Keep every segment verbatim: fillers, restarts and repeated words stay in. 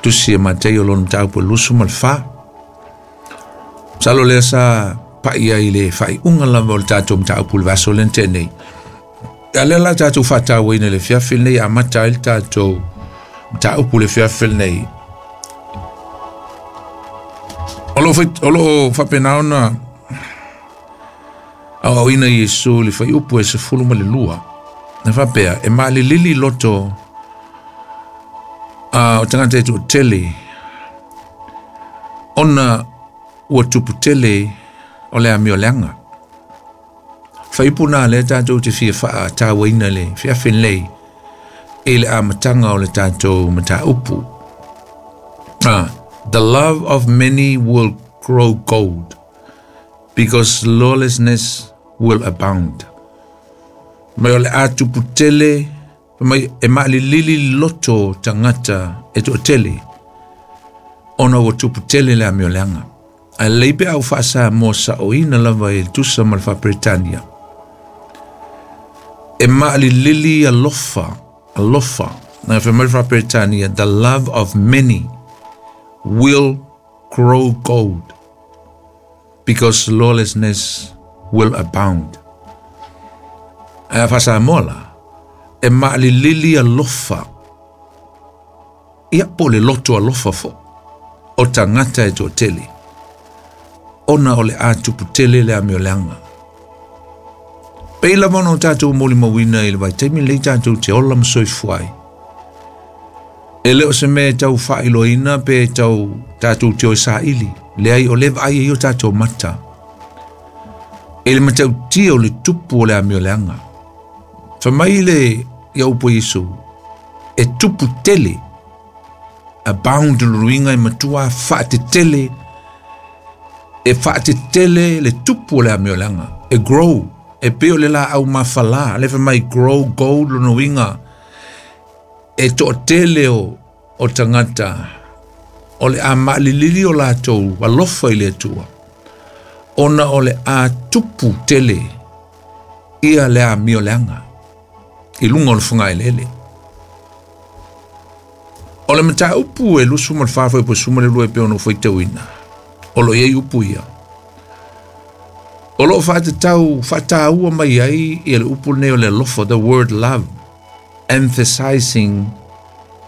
Tusi e Mataio lona mataupu e lusu ma le fa. Masalo lea sa paia i le faaiuga lava o le tatou mataupu i le vaiaso lea na tea nei. A lea la tatou faatauaina i le afiafi lenei, amata ai le tatou mataupu i le afiafi lenei. O loo faapena ona aoaoina Iesu i le faiupu e sefulu ma le lua. Na faapea, e maalilili loto a o tagata e toatele ona ua tupu tele o le amioleaga. Faiupu na lea tatou te fia faatauaina le afiafi lenei i le amataga o le tatou mataupu. Ah, the love of many will grow cold because lawlessness will abound. Mai o le a tupu tele, mai e maalilili loto tagata e toatele ona ua tupu tele le amioleaga. Ae lelei pe a ou faasamoa saoina lava i le tusa ma le faaperetania. E maalilili alofa, alofa. Na fai mai le faaperetania, the love of many will grow cold because lawlessness will abound. Ae a faasamoa la, e maalilili alofa, ia po o le loto alofa foʻi o tagata e toatele ona o le a tupu tele le amioleaga. Pei lava ona o tatou molimauina i le vaitaimi lenei tatou te ola ma soifua ai. E le o se mea e tau faailoaina pe tau tatou te o e saili. Leai, o lea vaai ai o tatou mata i le matautia o le tupu o le amioleaga. Fai mai le ia upu a Iesu, e tupu tele, abound lona uiga e matua faatetele, e faatetele le tupu o le amioleaga. E grow, e pei o le laau mafalā, le fai mai grow cold lona uiga e toatele o, o tagata o le a maalilili o latou alofa i le Atua ona o le a tupu tele ia le amioleaga i luga o le fogaeleele. O le mataupu e lusu ma le fa fuaiupu e sefulu ma le lua e pei ona ou faitauina, o lo o i ai upu ia. O loo faatatau faataua mai ai ia le upu lenei o le alofa, the word love, emphasizing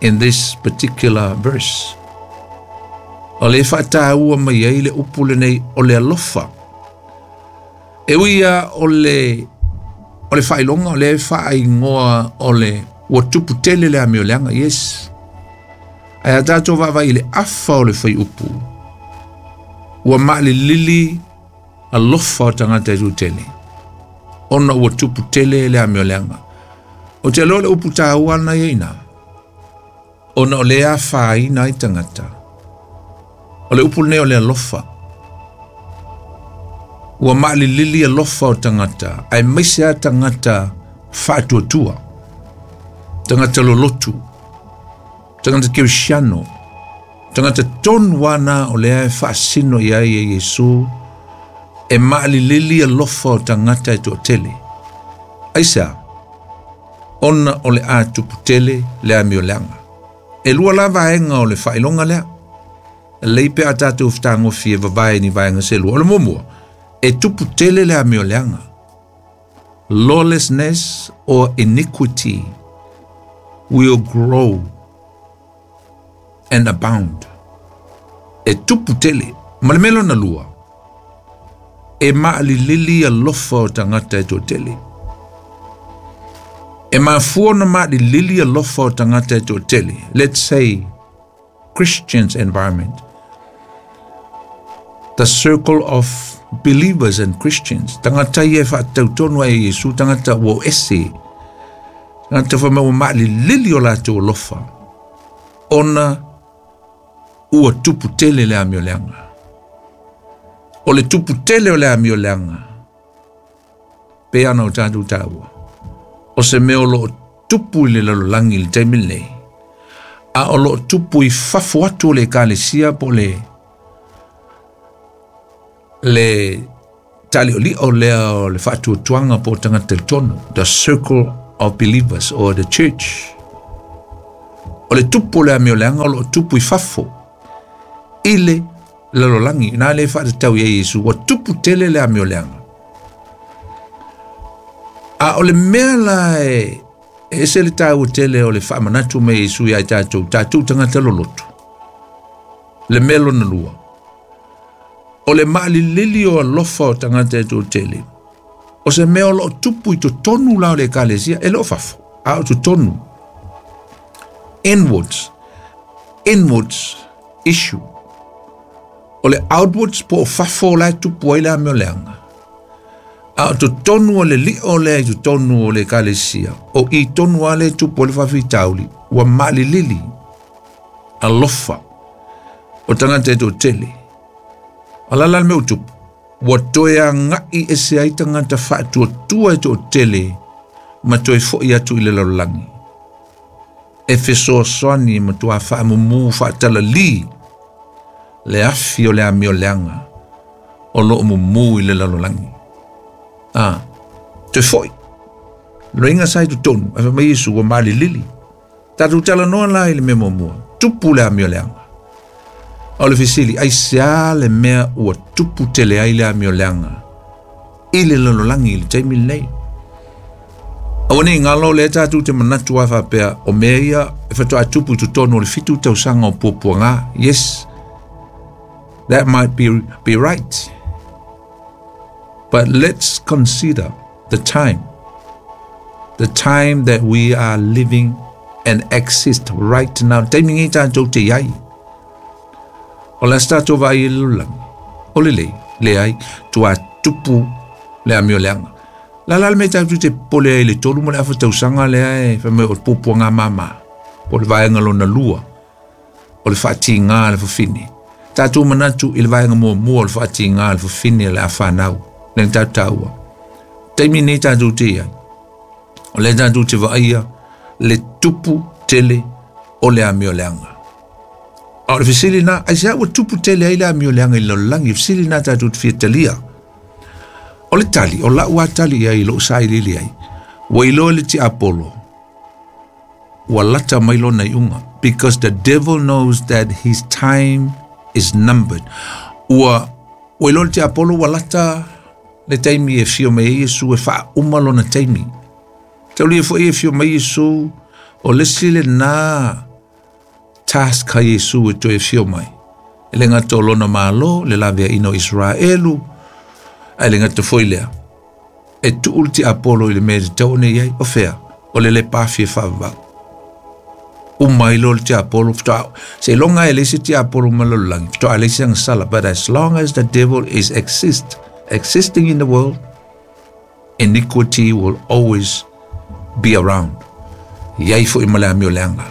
in this particular verse. O le faataua mai ai le upu lenei o le alofa. E ui ia o le o le faailoga o le faaigoa o le ua tupu tele le amioleaga, yes. Ae a tatou vaavaai i le afa o le faiupu, ua maalilili alofa o tagata e toatele ona ua tupu tele le amioleaga. Ou te iloa le upu taua lena ia i ina, ona o lea afaina ai tagata. O le upu lenei o le alofa. Ua maalilili alofa o tagata, aemaise a tagata faatuatua, tagata lolotu, tagata kerisiano, tagata tonu ana o lea e faasino i ai e Iesu, e maalilili alofa o tagata e toatele. Aisea? Ona o le a tupu tele le amioleaga. E lua la vaega o le faailoga lea. Lelei pe a tatou fetagofie e vavae ni vaega se lua. O le muamua, e tupu tele le amioleaga. Lawlessness or iniquity will grow and abound. E tupu tele. Ma le mea lona lua, e maalilili alofa o tagata e toatele. E mafua ona maalilili alofa o tagata e toatele. Let's say Christians environment, the circle of believers and Christians, tagata ia e faatautonu ai e Iesu, tagata ua o ese, tagata fai mai ua maalilili o latou alofa ona ua tupu tele le amioleaga. O le tupu tele o le amioleaga pe ana o tatou taua, o se mea o loo tupu i le lalolagi i le taimi lenei, a o loo tupu i fafo atu o le ekalesia po o le le taliolio lea o le faatuatuaga po o tagata talitonu, the circle of believers or the church. O O le tupu o le amioleaga o loo tupu i fafo i le lalolagi na le faatatau ia Iesu ua tupu tele le amioleaga. A o le mea la e ese le taua tele o le faamanatu mai Iesu ia i tatou, tatou tagata loloto. Le mea lona lua, o le maalilili o alofa o tagata e toatele, o se mea o loo tupu i totonu la o le ekalesia, e le o fafo, a o totonu. Inwards, inwards issue. O le outwards po o fafo la e tupu ai le amioleaga. A o totonu o le lio lea i totonu o le ekalesia, o i tonu a le tupu o le faafitauli, ua maalilili alofa o tagata e toatele. O la la le mea ua tupu, ua toe agai ese ai tagata faatuatua e toatele ma toe foi atu i le lalolagi. E fesoasoani ma tua faamumu faatalali le afi o le amioleaga o loo mumu i le lalolagi. Ah, toe foi. Loiga sa i totonu, ae fai mai Iesu ua malilili. Tatou talanoa la i le mea muamua, tupu le amioleaga. O le fesili, aisea le mea ua tupu tele ai le amioleaga i le lalolagi i le taimi lenei? Aua nei galo lea tatou te manatu ai faapea o mea ia e faatoa tupu i totonu o le fitu tausaga o puapuaga. Yes, that might be, be right. But let's consider the time. The time that we are living and exist right now. Taimi nei tatou te iai. O le aso tatou vaai i le lalolagi. O le lei, leai, tua tupu le amioleaga. La la le mea tatou te popole ai i le tolu ma le afa tausaga lea e fai mai o le puapuaga māmā. Po o le vaega lona lua. O le faatigā le fafine. Tatou manatu i le vaega muamua o le faatigā le fafine le afanau. Le tatou taua. Taimi nei tatou te iai. O le tatou te vaaia le tupu tele o le amioleaga. A o le fesili na, aisea ua tupu tele ai le amioleaga i le lalolagi, fesili na tatou te fia talia. O le tali, o lau a tali ai lou sailiili ai, ua iloa le tiapolo, ua lata mai lona iuga, because the devil knows that his time is numbered. Ua, ua iloa le tiapolo ua lata le taimi e fio mai ai Iesu e faauma lona taimi. Taulia foi e fio mai Iesu, o le isi lena task ha Iesu e toe fio mai. E le gata o lona malo, le laveaina o Israelu, ae le gata foi lea. E tuu le tiapolo i le mea e tatau ona i ai, o fea, o le lepa afi e faavavau. Uma ai loa le tiapolo, faatoa, seiloga e leai se tiapolo ma le lalolagi, faatoa leai se agasala. But as long as the devil is exist, existing in the world, iniquity will always be around. Iai foi ma le amioleaga.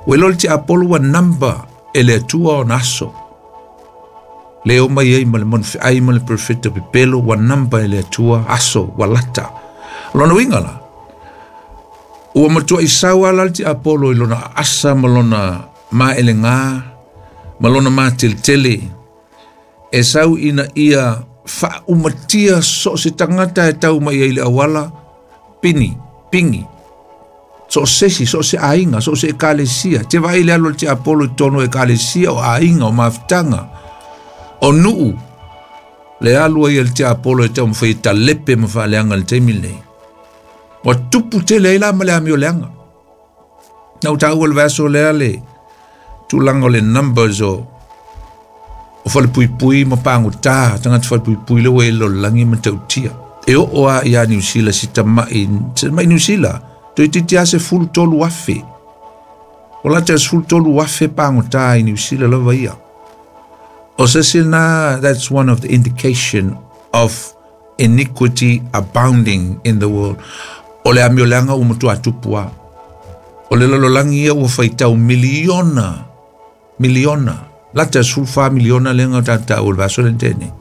Ua iloa le tiapolo ua number e le Atua ona aso. Le o mai ai ma le manufeai ma le profeta pepelo, ua number e le Atua aso, ua lata. Lona uiga la, ua matua isau ala le tiapolo i lona asa ma lona maelegā, ma lona mateletele. E sau ina ia faaumatia so o se tagata e tau mai ai i le auala, pini, pingi. So o sesi, so o se aiga, so o se ekalesia. Te vaai le alu o le tiapolo i totonu o ekalesia, o aiga, o mafutaga, o nuu. Le alu ai a le tiapolo e taumafai e talepe ma faaleaga i le taimi lenei. Ua tupu tele ai la ma le amioleaga. Na ou taua le vaiaso lea le tulaga o le numbers o o falepuipui ma pagotā, tagata falepuipui le ua i le lalolagi ma tautia. E oo lava ia Niu Sila si tamai, si tamai Niu Sila, toeitiiti lava sefulu tolu afe. O lata e sefulu tolu afe pagotā i Niu Sila lava ia. O se isi lena, that's one of the indication of iniquity abounding in the world. O le amioleaga ua matuā tupu lava. O le lalolagi ia ua faitau miliona, miliona, lata e sefulu fa miliona lea na tatou taua i le vaiaso lea na tea nei.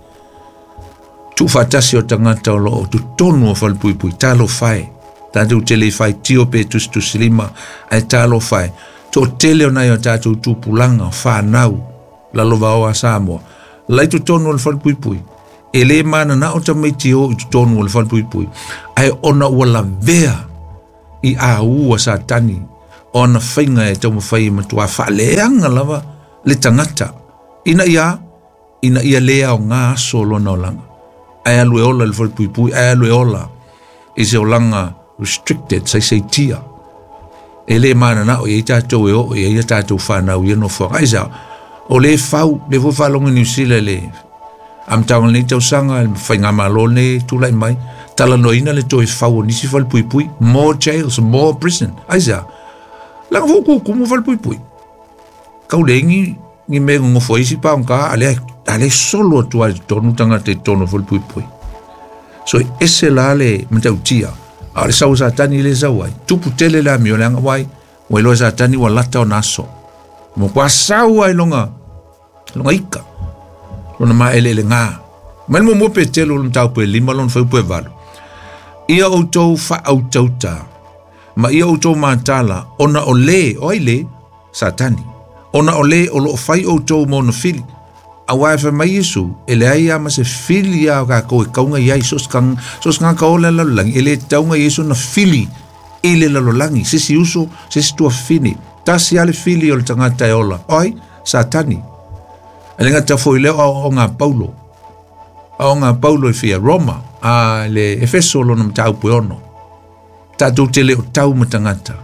Tuufaatasi o tagata o loo totonu o falepuipui, talofa e. Tatou te le faitio pe tusitusilima, ae talofa e. Toatele o nai o tatou tupulaga, o fanau, lalovaoa a Samoa. Lai totonu o le falepuipui. E le mananao tamaiti e o i totonu o le falepuipui. Ae ona ua lavea i aua Satani, O ana faiga e taumafai e matuā faaleaga lava le tagata ina ia ina ia lē aogā aso o lona olaga ae alu e ola i le falepuipui ae alu e ola i se olaga restricted saisaitia e lē mananao i ai tatou e oo i ai ia tatou fanau ia nofoaga aisa o lē fau le foi faalogo Niusila le amataga o lenei tausaga le faigamālō lenei tula'i mai talanoaina le toe fau o nisi falepuipui more jails more prison aisa laga foi kukumu falepuipui kau leigi ni mea gogofo ai isi paogā a lea a lea solo atu ai totonu tagata i totonu o falepuipui so e ese la le matautia a o le sau Satani le sau ai tupu tele le amio leaga uai ua iloa Satani ua lata ona aso mo kua sau ai loga loga ika lona maeleelegā mai le muamua Petelo o le mataupu e lima lona fuaiupu e valu ia outou faautauta ma ia outou matala ona o lē o ai lē Satani ona o lē o loo fai outou ma ona fili auā e fai mai Iesu e leai a ma se fili a o kakou e kauga iai so se tagata ola le lalolagi e lē tauga Iesu na fili i le lalolagi se isi uso se isi tuafafine tasi a le fili o le tagata e ola o ai Satani e le gata foi lea o aoaoga a Paulo aoaoga a Paulo e fia Roma a le Efeso lona mataupu e ono tatou te le o tau ma tagata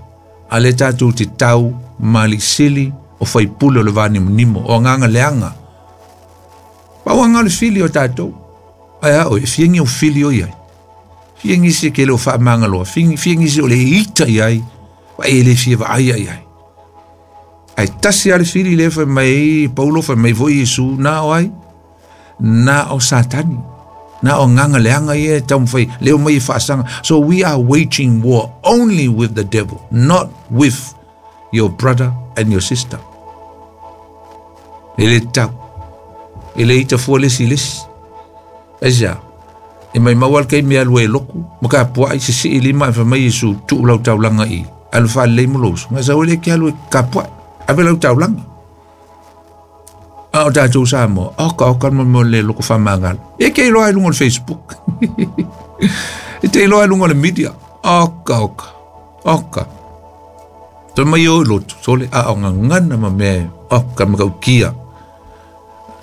a le tatou te tau ma aliisili o faipule o le vanimonimo o agaga leaga pau aga o le fili o tatou ae a oe e fiagi au fili o iai fiagi se ke le o faamagaloa fiagi se o le ita iai vaai e le fia vaaia iai ae tasi a le fili lea fai mai Paulo fai mai foi Iesu na o ai na o Satani na o agaga leaga ia e taumafai leo mai e faasaga so we are waging war only with the devil not with your brother and your sister e le tau e le ita fua le isi i le isi aisea e maimau a le kaimi e alu ai e loku ma kapua'i sesii lima ae fai mai Iesu tuu lau taulaga i alu faalelei ma lou uso gasau e le ke alu e kapua'i ave lau taulaga a o tatou Samoa oka oka le mo le loko faamagalo e ke iloa ai luga o le Facebook e te iloa ai luga o le media oka oka oka toe mai o i lotu sole a o gagana ma mea oka ma kaukia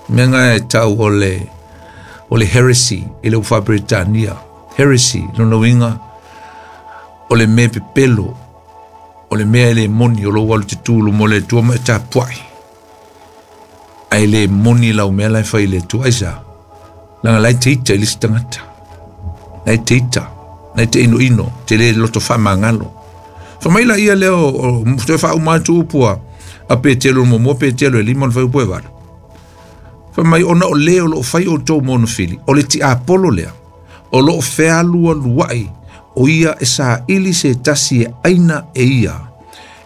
mea ga e tau o le o le heresy i le ufa Britania heresy lona uiga o le mea pepelo o le mea e le moni o lou alu tetū luma o le Atua ma e tapua'i ae le moni lau mea la e fai i le Atua aisa laga la e te ita i le isi tagata la e te ita la e te inoino te lē loto faamagalo fai mai laia lea o toe faauma atu upu a a Petelo muamua Petelo e lima o le fuaiupu e valu fai mai ona o lē o loo fai outou ma ona fili o le tiapolo lea o loo fealualua'i o ia e saili se tasi e aina e ia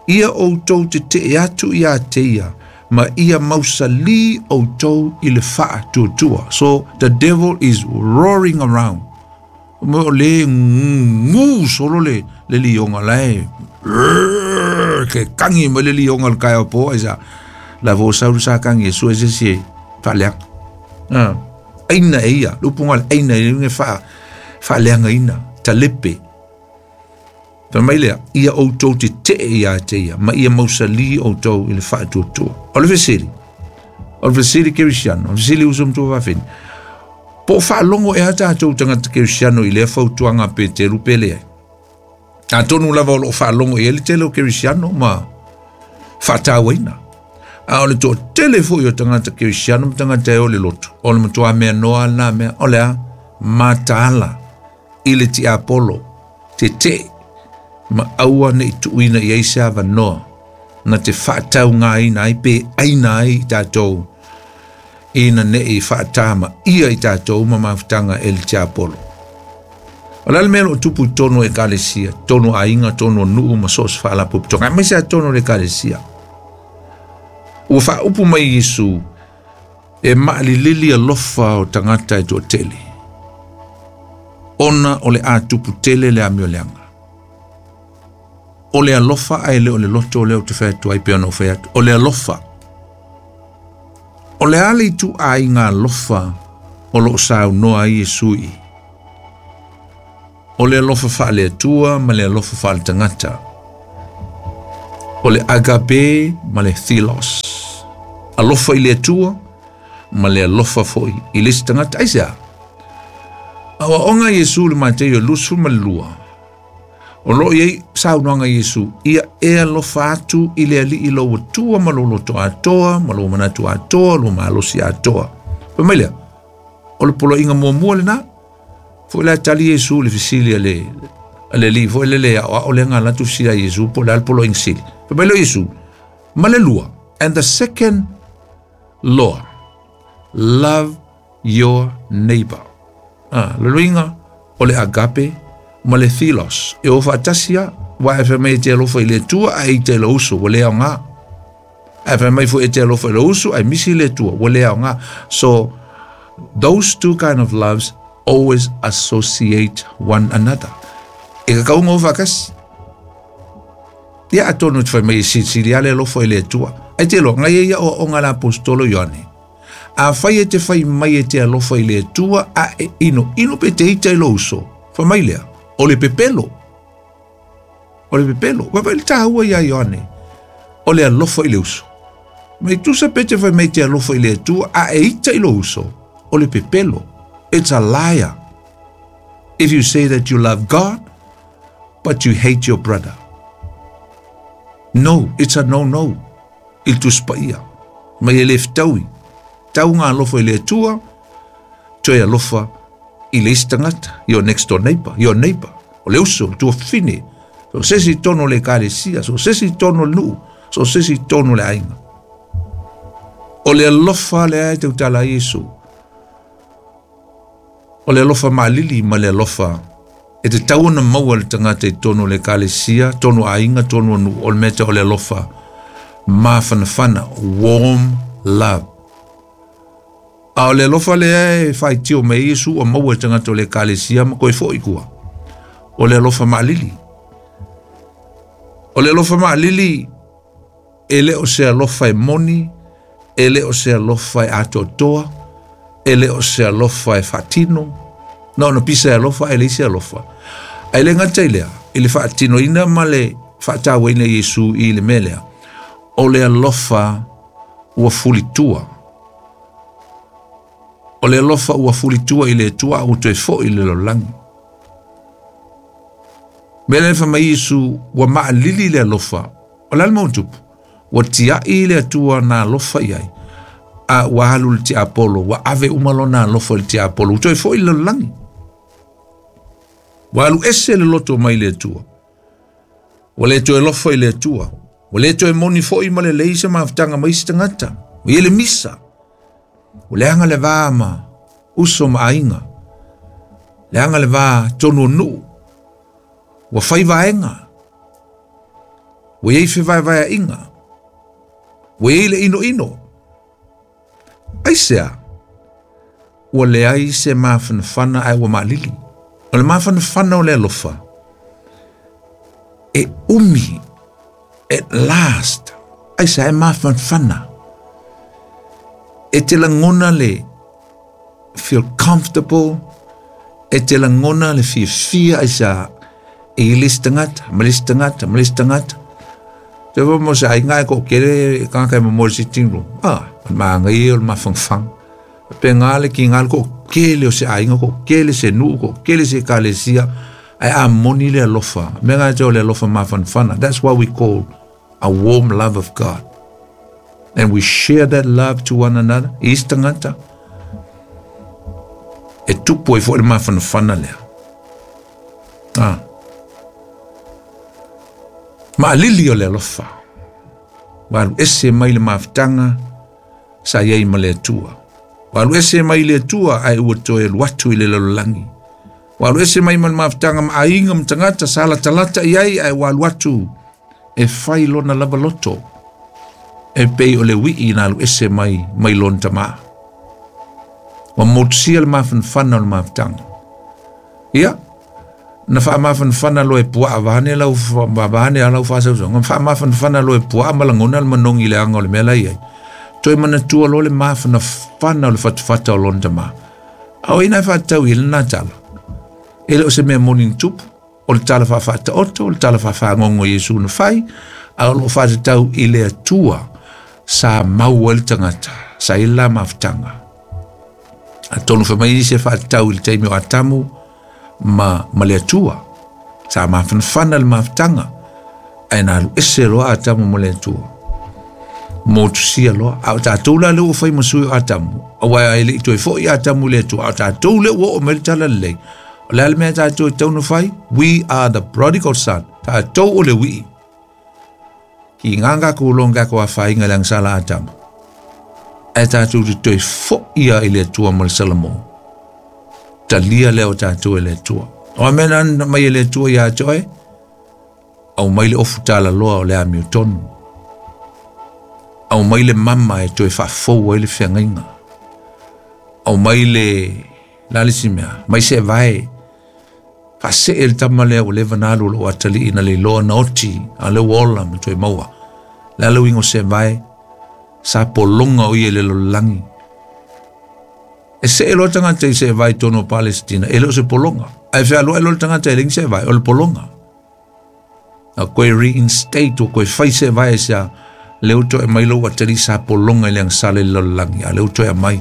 ia outou tetee atu iā te ia ma ia mausalī outou i le faatuatua so the devil is roaring around mo o lē gū solo le le lioga la e ke kagi mai le lioga o le taeao po aisa la fo sau le sa kagi e sue se isi e faaleaga aina e ia le upuga le aina e uiga faa faaleagaina talepe fai mai lea ia outou tetee iā te ia ma ia mausalī outou i le faatuatua o le fesili o le fesili kerisiano o le fesili uso ma tuafafine po o faalogo ea tatou tagata kerisiano i lea fautuaga a Peteru pe leai atonu lava o loo faalogo i ai le tele o kerisiano ma faatauaina a o le toatele foi o tagata kerisiano ma tagata e o le lotu o le matuā mea noa lena mea o le a mataala i le tiapolo tetee ma aua nei tuuina i ai se avanoa na te faataugāina ai pe aina ai i tatou ina nei faatama ia i tatou ma mafutaga e le tiapolo o le a le mea o loo tupu i tonu o ekalesia tonu aiga tonu o nuu ma so o se faalapotopotoga aemaise a tonu o le ekalesia ua faaupu mai Iesu e maalilili alofa o tagata e toatele ona o le a tupu tele le amio leaga o le alofa ae le o le loto lea ou te fai atu ai pe ona ou fai atu o le alofa o le a le ituaiga alofa o loo saunoa ai Iesu i o le alofa faale-Atua ma le alofa faale-tagata O le agape ma le philos. Alofa i le Atua ma le alofa foi i le isi tagata. Aisea? Aoaoga Iesu le Mateio lusu ma le lua. O loo iai saunoaga Iesu, ia e alofa atu i le Alii lou Atua ma lou loto atoa, ma lou manatu atoa, lou malosi atoa. Fai mai lea, o le poloaiga muamua lena. Foi la tali Iesu le fesili a le a le alii foi lele aoao lea na alu atu fesili ia Iesu po o le a le poloaiga sili. Fai mai lea o Iesu, ma le lua, and the second law, love your neighbor. Ah, le luiga o le agape ma le philos. E o faatasi a, wa e fai mai e te alofa i le Atua ae ita i lou uso, ua le aoga. Ae fai mai foi e te alofa i lou uso ae misi le Atua, ua le aoga. So, those two kind of loves always associate one another. E kakauga o faatasi. Ia atonu te fai mai e silisili a le alofa i le Atua. Ai te loa, ngai e ia oaoga a le aposetolo Ioane. Afai e te fai mai e te alofa i le Atua a e ino ino pe te ita i lou uso, fai mai lea, o le pepelo. O le pepelo. Vaavaai le taua ia Ioane, o le alofa i le uso. Mai tusa pe te fai mai te alofa i le Atua a e ita i lou uso, o le pepelo. It's a liar. If you say that you love God, but you hate your brother. No, it's a no-no. I le Tusi Paia. Mai e le fetaui. Tau ngā alofa i le Atua, toe alofa i le isi tagata, your next door neighbor, your neighbor. O le uso, le tuafafine, so se isi i totonu o le ekalesia, so se isi i totonu o le nuu, so se isi i totonu o le aiga. O le alofa lea e tautala ai Iesu. O le alofa maalili ma le alofa e tatau ona maua le tagata i totonu o le ekalesia, totonu o aiga, totonu o nuu, o le mea tau o le alofa mafanafana, warm love. A o le alofa lea e faitio mai ai Iesu ua maua e tagata o le ekalesia ma koe foi kua. O le alofa maalili. O le alofa maalili e le o se alofa e moni, e le o se alofa e atoatoa, e le o se alofa e faatino. Na ona pisa e alofa e leai se alofa. Ae le gata i lea, i le faatinoina ma le faatauaina e Iesu i le mea lea, o le alofa ua fulitua. O le alofa ua fulitua i le Atua a ua toe foi i le lalolagi. Mea lea fai mai Iesu, ua maalili le alofa. O le a le mea ua tupu? Ua tiai le Atua na alofa i ai, a ua alu le tiapolo, ua ave uma lona alofa i le tiapolo, ua toe foi i le lalolagi. Ua alu ese le loto mai le Atua. Ua le toe alofa i le Atua. Ua le toe moni foi ma lelei se mafutaga mai isi tagata. Ua i ai le misa. Ua leaga le va ma uso ma aiga. Leaga le va tonu o nuu. Ua fai vaega. Ua i ai fevaevaeaiga. Ua i ai le inoino. Aisea? Ua leai se mafanafana ae ua maalili. O le mafanafana o le alofa e umi at last. Aisea e mafanafana. E te lagona le feel comfortable, e te lagona le fiafia aisea e i le isi tagata, ma le isi tagata, ma le isi tagata. Te wā mo se aiga e ko kere e kanga kai mo le sitting room. Ah, o le maangai o le mafangafanga. Pe ngā le ki ngā le ko kele o se aiga, ko kele se nuu, ko kele se ekalesia, ae a moni le alofa. Mea ngā te o le alofa mafanafana. That's why we call a warm love of God. And we share that love to one another. I isi tagata, e tupu ai foi le mafanafana lea. Ah. Maalili o le alofa. Ua alu ese mai le mafutaga sa i ai ma le Atua. Ua alu ese mai le Atua ae ua toe alu atu i le lalolagi. Ua alu ese mai ma le mafutaga ma aiga ma tagata sa latalata i ai ae ua alu atu e fai lona lava loto. E pei o le wii na alu ese mai mai lona tamā. Ua motusia le mafanafana o le mafutaga. Ia, na faamafanafana loa e puaa vaeane lau vaeane a lau faasausauga, faamafanafana loa e puaa ma lagona le manogi i le aga o le mea la i ai. Toe manatua loa le mafanafana o le fatafata o lona tamā. A o ina e faatatau i ai lena tala. E le o se mea moni na tupu, o le tala faafaataoto, o le tala faafaagogo i Iesu na fai, A o loo faatatau i le Atua sa mau ai le tagata sa i la mafutaga. Atonu fai mai nisi e faatatau i le taimi o Atamu ma, ma le Atua. Sa mafanafana le mafutaga ae na alu ese loa Atamu ma le Atua. Motusia loa. A o tatou la lea ua fai ma sui o Atamu, auā e le'i toe fo'i Atamu i le Atua, a o tatou lea ua oo mai le tala lelei. O le a le mea tatou e tatau ona fai? We are the prodigal son. Tatou o le ui'i. Ki ngā ko longa ko afainga le agasala Atamu. Ae tatou te toe fo'i ia i le Atua ma le Salamo. Talia lea o tatou e le Atua. O a mea na mai e le Atua ia te oe, au mai le ofu talaloa o le amiotonu. Au mai le mama e toe faafou ai le feagaiga. Au mai le la le isi mea, mai se vae. Faasee le tama lea ua leva na alu o loo atalii na leiloa na oti, a lea ua ola ma toe maua. Le a le uiga o se vae, sa pologa o ia i le lalolagi. E see loa tagata i se vae i totonu o Palesitina, e le o se pologa. Ae fealuai loa le tagata e leai se vae, o le pologa. A koe reinstate o koe fai se vae sea, lea ua toe aumai lou atalii sa pologa i le agasala i le lalolagi, a lea ua toe aumai.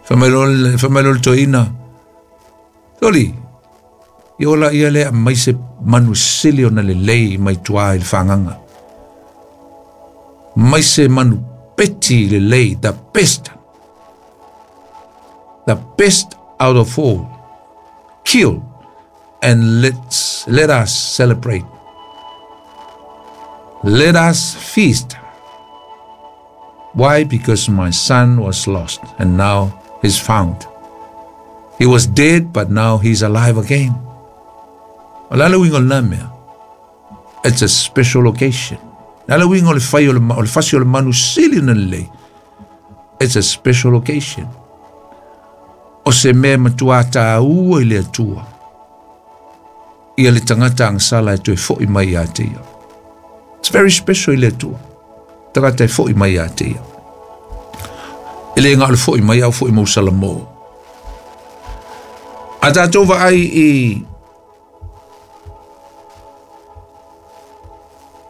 Fai mai loa fai mai loa le toeaina, Soli, ia ola ia lea aumai se manu sili ona lelei mai tua i le fagaga. Mai se manu peti lelei, the best, the best out of all, kill and let's, let us celebrate. Let us feast. Why? Because my son was lost and now he's found. He was dead, but now he's alive again. O le a le uiga o lena mea? It's a special occasion. Le a le uiga o le fai o le, o le fasi o le manu sili ona lelei? It's a special occasion. O se mea e matuā tāua i le Atua ia le tagata agasala e toe fo'i mai ia te ia. It's very special i le Atua. Tagata e fo'i mai ia te ia. E le gā o le fo'i mai au fo'i mau Salamo. A tātou vaai i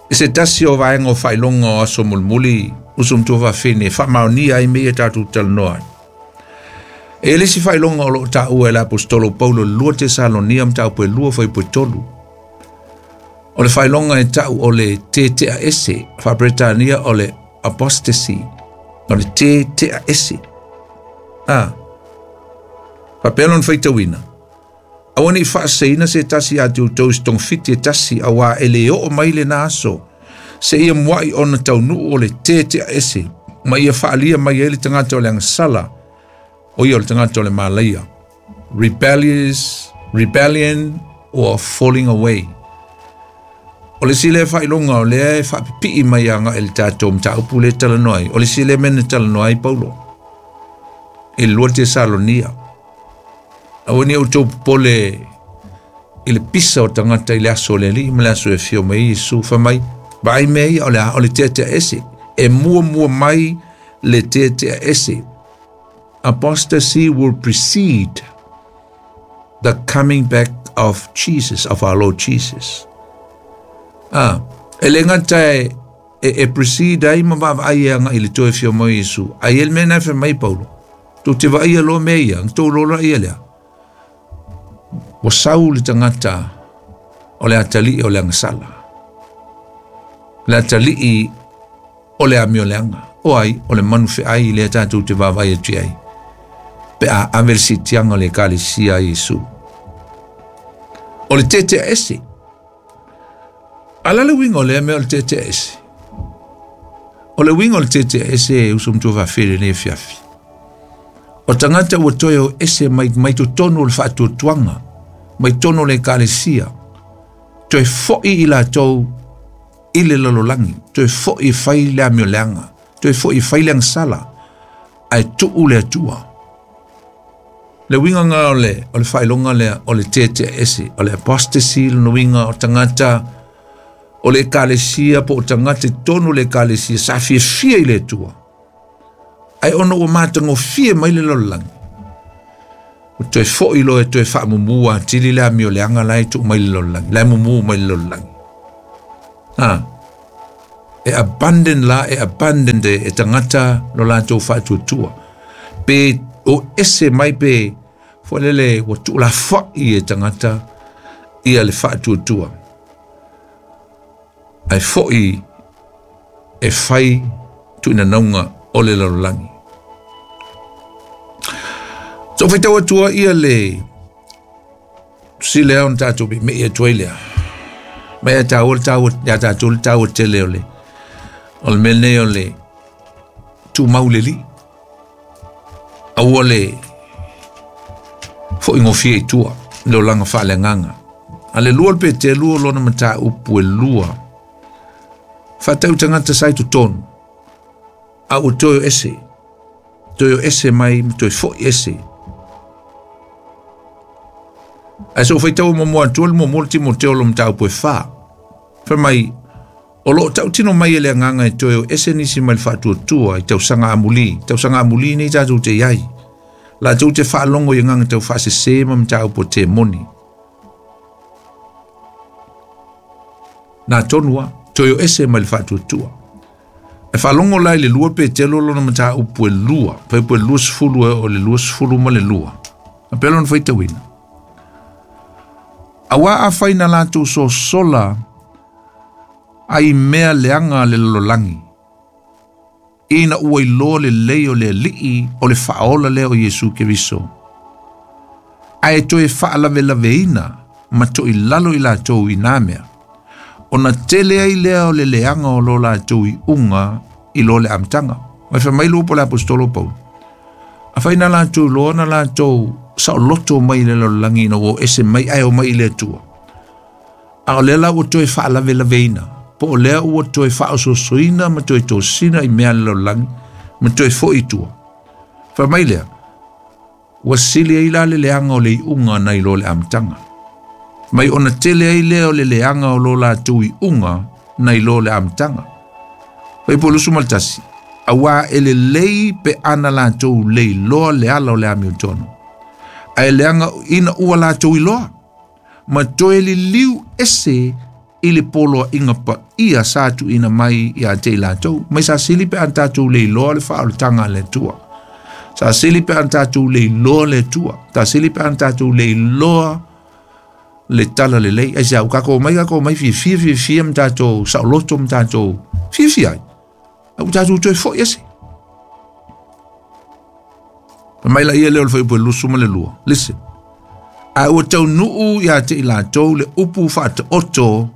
i se tasi o vaega o faailoga o aso mulimuli uso matua faafine e faamaonia ai mea ia tatou talanoa ai. E le isi faailoga o loo taua e le aposetolo Paulo i le lua Tesalonia mataupu e lua fuaiupu e tolu. O le faailoga e tau o le tetea ese, faa-Peretania o le apostasy, o le tetea ese. A, faapea lona faitauina, aua nei faaseseina se tasi ia te outou i se togafiti e tasi, auā e lē oo mai lenā aso, seia muaʻi ona taunuu o le tetea ese, ma ia faaalia mai ai le tagata o le agasala, o ia o le tagata o le malaia. Rebellious, rebellion or falling away. O le isi lea faailoga o lea e faapipii mai agaʻi i le tatou mataupu lea e talanoa ai, o le isi lea mea na talanoa ai Paulo i le lua Tesalonia. Aua nei outou popole i le pisa o tagata i le aso o le Alii ma le aso e afio mai ai Iesu. Fai mai, vaai mea ia o le a? O le teatea ese. E muamua mai le teatea ese. Apostasy will precede the coming back of Jesus, of our Lord Jesus. Ah, e le gata e, e, e precede ai ma vaavaai e agaʻi i le toe afio mai o Iesu. Ae i ai le mea na e fai mai Paulo, tou te vaaia loa mea ia, na tou lola ia lea. Ua sau le tagata o le atalii o le agasala. Le atalii o le amioleaga. O ai, o le manu feai lea tatou te vaavaai atu i ai. Pe a ave le siitiaga o le Ekalesia a Iesu. O le tetea ese. A o le a le uiga o lea mea o le tetea ese? O le uiga o le tetea ese e uso matua faafele i lenei afiafi. O tagata ua toe o ese mai, mai totonu o le faatuatuaga, mai totonu o le Ekalesia, toe fo'i i latou i le lalolagi, toe fo'i e fai le amioleaga, toe fo'i e fai le agasala, ae tuu le Atua. Le uiga lena o le, o le faailoga lea o le tetea ese, o le apostasy lona uiga o tagata o le Ekalesia po o tagata i totonu o le Ekalesia sa fiafia i le Atua. Ae ona ua matagofie mai le lalolagi, ua toe fo'i loa e toe faamumu atili le amioleaga la e tuu mai le lalolagi, la e mumu mai le lalolagi. Ha. E abandon la, e abandon de, e tangata lo latou faatuatua. Pe o ese mai pe, fo lele ua tuulafa'i e tagata ia le faatuatua. Ae fo'i e fai tu'uinanauga o le lalolagi. So faitau atua ia le sile ona tatou me'i atu ai lea. Mai a tāua le tāua, ia tātou le tāua tele o le, o le mea nei o le tumau le alii. Aua le fo'i gofie i tua, le olaga faaleagaga. A le lua le Peteru o lona mataupu e lua. Faatau tagata sa i totonu. A ua toe o ese. Toe o ese mai ma toe fo'i ese. Ae so faitau muamua atu le muamua le Timoteo lo mataupu e fa. Fai mai, o loo tautino mai e le agaga e toe o ese nisi mai le faatuatua i tausaga amulī. Tausaga amulī nei tatou te iai. Latou te faalogo i agaga tau faasesē ma mataupu o temoni. Nā tonu a, toe o ese mai le faatuatua. E faalogo la i le lua Petelo lona mataupu e lua. Faipu e lua sefulu e o le lua sefulu ma le lua. A pea lona faitauina. Auā afai na latou sosola ai mea leaga le lalolagi. Ina ua iloa lelei o le alii o le faaola lea o Iesu Keriso. Ae toe faalavelaveina ma toʻilalo i latou i nā mea. Ona tele ai lea o le leaga o lo latou iuga i lo le amataga. Mai fai mai le upu o le apostolo Paulo. Afai na latou iloa na latou saoloto mai le lalolagi ina ua o ese mai ae o mai i le Atua. A o lea la ua toe faalavelaveina, po o lea ua toe faaososoina ma toe tosina i mea le lalolagi ma toe fo'i i tua. Fai mai lea, ua sili ai la le leaga o le iuga nai lo le amataga. Mai ona tele ai lea o le leaga o lo latou iuga nai lo le amataga. Fai po lusu ma le tasi, auā e lelei pe ana latou leiloa le ala o le amiotonu. Ae leaga ina ua latou iloa, ma toe liliu ese i le poloaiga paia sa tuuina mai ia te i latou. Mai sa sili pe ana tatou leiloa le faaolataga a le Atua. Sa sili pe ana tatou leiloa le Atua. Sa sili pe ana tatou leiloa le tala lelei. Ai se au kako mai kako mai fiafia fiafia ma tatou saoloto ma tatou fiafia ai. Au tatou toe fo'i ese. Fai mai laia lea o le fuaiupu e lusu ma le lua. Listen. A ua taunuu ia te i latou le upu faataoto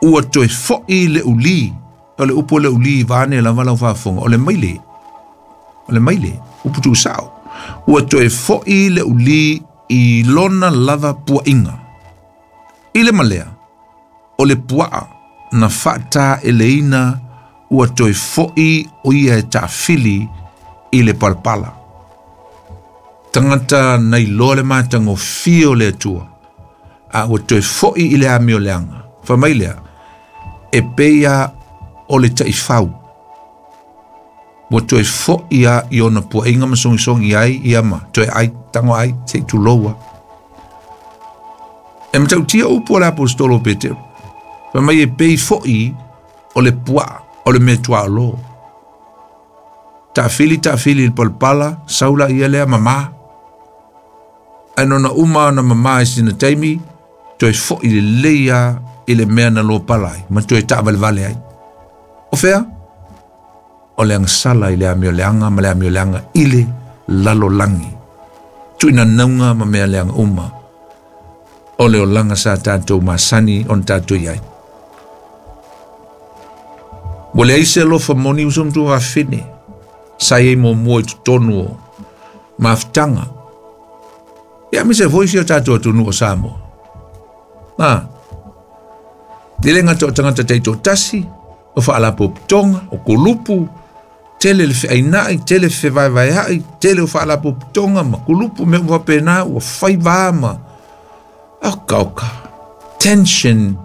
ua toe fo'i le ulī. O le upu o le ulī vaeane lava lau faafofoga. O le maile. O le maile. Upu tuusao. Ua toe fo'i le ulī i lona lava puaʻiga. I le malea, o le puaa na faataeleina ua toe fo'i o ia e taafili i le palapala. Tagata na iloa le matagofie o le Atua, a ua toe fo'i i le amioleaga. Fai mai lea, e pei a o le taifau. Ua toe fo'i a i ona puaʻiga ma sogisogi ai ia ma toe ai tago ai seʻi tuloua. E matautia upu o le apostolo Petero. Fai mai e pei fo'i o le puaa o le mea tuaolo. Taafili taafili i le palapala, sau laia lea mamā. Ae nona uma ona mamā i sina taimi, toe fo'i lelei a i le mea na lopala ai, ma toe taavalevale ai. O fea? O le agasala i le amioleaga ma le amioleaga i le lalolagi. Tuuinanauga ma mea leaga uma. O le olaga sa tatou masani ona tatou iai. Ua leai se alofa moni uso ma tuafafine. Sa iai muamua i totonu o mafutaga. Ia aemaise foi si o tatou atunuu o Samoa. A, e le gata o tagata taitoatasi, o faalapotopotoga, o kulupu, tele le feainaʻi, tele fevaevaeaʻi, tele o faalapotopotoga ma kulupu mea uma faapena ua fai va ma oka oka. Tension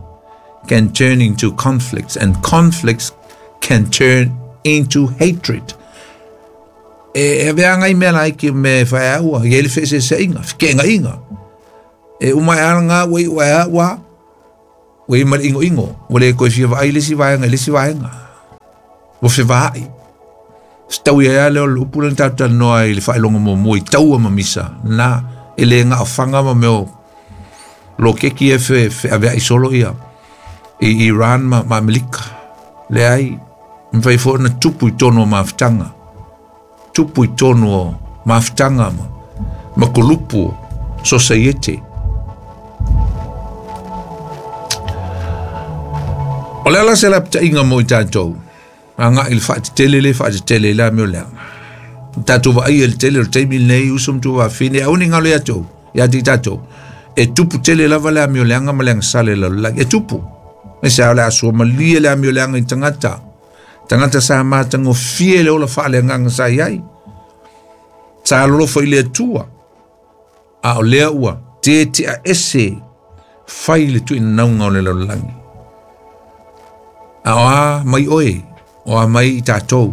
can turn into conflicts and conflicts can turn into hatred. E aveaga i mea laiki me faeaua, i ai le feeseeseaiga, fekeaga'iga. E uma e ala ngā ua i ua ua, Ua i ma le ingoingo, ua le koe fia vaai le si vaenga, le si vaenga. Ua fe vaai. Stau ia le o le upu le tātou noa i le whailonga mo mua i taua ma misa. Nā, e le ngā o whanga ma meo lo keki e fe, fe avea i solo ia. I Iran ma, ma Amerika. Le ai, mwhai fo na tupu i tono o mafutanga. Tupu i tono o mafutanga ma, ma kolupu o society. O le ala se la pita inga mo i tātou. A ngā i le whaatetele le whaatetele la meo lea. Tātou wa ai le tele o teimi nei usum tu wa whine. Au ni ngā le atou. Ia ti tātou. E tupu tele lava le amio leanga ma leanga sale la la. E tupu. Me se au le asua malie le amio leanga i tangata. Tangata sa mātango fie le ola wha le nganga sa iai. Sa lolofa i le atua. A o lea ua. Te te a ese. Whai le tu ina naunga o le lalolagi. A o a mai oe. O a mai i tātou.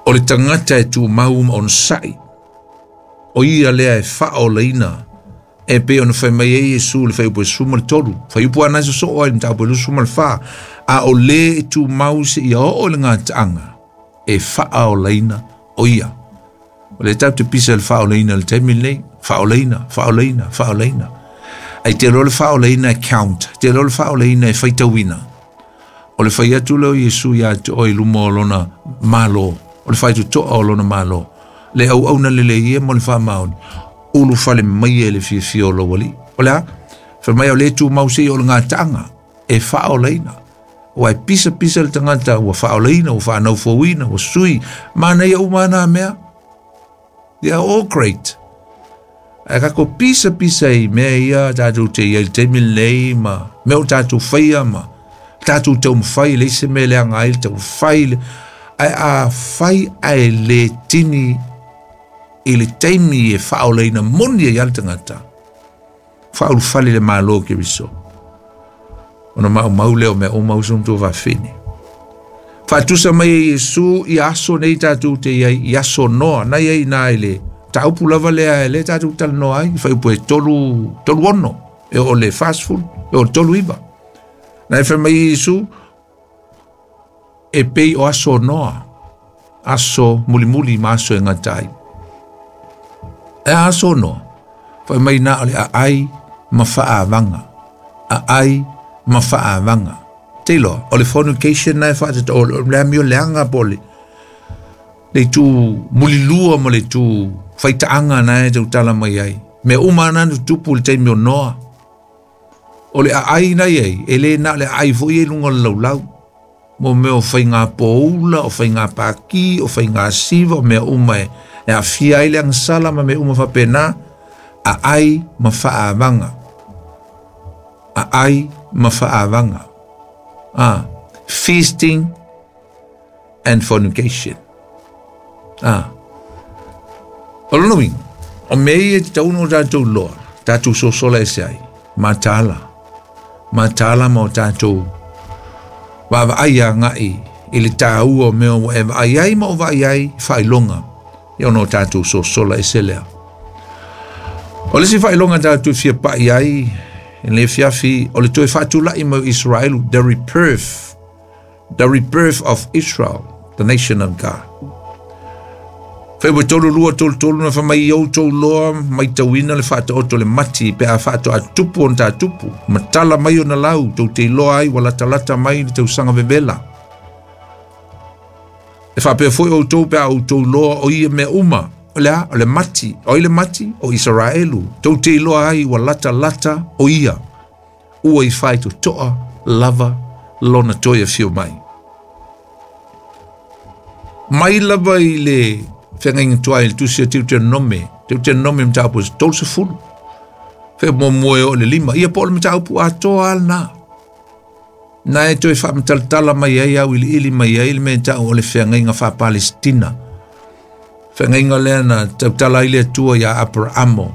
O le tangata e tū mau ma ona sai. O ia lea e wha o leina. E pe ona whai mai e Yesu le whai upo e suma le toru. Whai upo anai so so oe mta upo e lusu ma le wha. A o le e tū mau se ia o le ngā taanga. E wha o leina o ia. O le tau te pisa le wha o leina le teimi nei. Wha o leina, wha o leina, wha o leina. Ai te lo le wha o leina e count. Te lo le wha o leina e whaitauina. O le whai atu leo Yesu ia te oi luma o lona malo. O le whai tu toa o lona malo. Le au au na lele ia mo le wha maoni. Ulu whale mai e le fia fia o lawali. O lea, whai mai o le tū mau sei o le ngā taanga. E wha o leina. Ua e pisa pisa le tangata. Ua wha o leina, ua wha naufuawina, ua sui. Mana ia umana mea. They are all great. Ai kako pisa pisa i mea ia tātou te ia i te lei ma. Mea o tātou whaia ma. Tātou tau mwhai le se mele anga ai tau whai ai a whai ai le tini i le teimi e whaoleina moni e iala tangata. Whaolu whale le malo ke riso. Ona mau mau leo mea o mau sum tō whawhine. Whatusa mai e Yesu i aso nei tātou te iai i aso noa. Nai ai nā i le taupu lava lea e le tātou tala noa ai. Whai upo e tolu, tolu ono. E o le fast food. E o tolu iwa. Nai whai mai Yesu e pei o aso noa. Aso mulimuli ma aso e ngatai. E aso noa. Whai mai nā o le a ai ma whaawanga. A ai ma whaawanga. Te loa, o le fornication nai whaatata, o le amio leanga po le, le tū mulilua ma le tū whaitaanga nai tau tala mai ai. Me uma nā tupu le teimi o noa. O le aai nai ai, e le nā le aai fo i e lunga le laulau. Mo mea o whai ngā pōula, o whai ngā pāki, o whai ngā siva, o mea uma e, e a fia ai le angsala ma mea uma whapena, a ai ma whaawanga. A ai ma whaawanga. Ah, feasting and fornication. Ah. O lona winga, o mea e te tauno o tātou loa, tātou sosola e se ai, matala. Matala ma o tātou wawa ai a ngai i le tāua o mea o e vaai ai ma o vaai ai whailonga. Ia ono o tātou sosola e se lea. O le si whailonga tātou fia pai ai, i le fiafi, o le toe whaatulai mau Israel, the rebirth, the rebirth of Israel, the nation of God. Whai wa tolu lua tolu tolu na whamai au tau loa, mai tauina le whaata oto le mati, pe a whaato a tupu on tā tupu, matala mai o na lau, tau te loa ai, wa lata mai le tau sanga vevela. E whapea foi o tau pe a o tau loa o ia mea uma, o le a, o le mati, o i le mati, o Israelu, tau te loa ai, wa lata lata o ia, ua i whai to toa, lava, lona toia whio mai. Mai lava i le whengainga tuai le tusia teu te nome, teu te nome mtaupu e tolu se fulu. Whea mo moe o le lima, ia po o le mtaupu a toa al nā. Nā e toi whaamatalatala mai ai au ili ili mai ai le mea tau o le whengainga wha Palestina. Whengainga lea na tautala i le atua ia Abrahamo.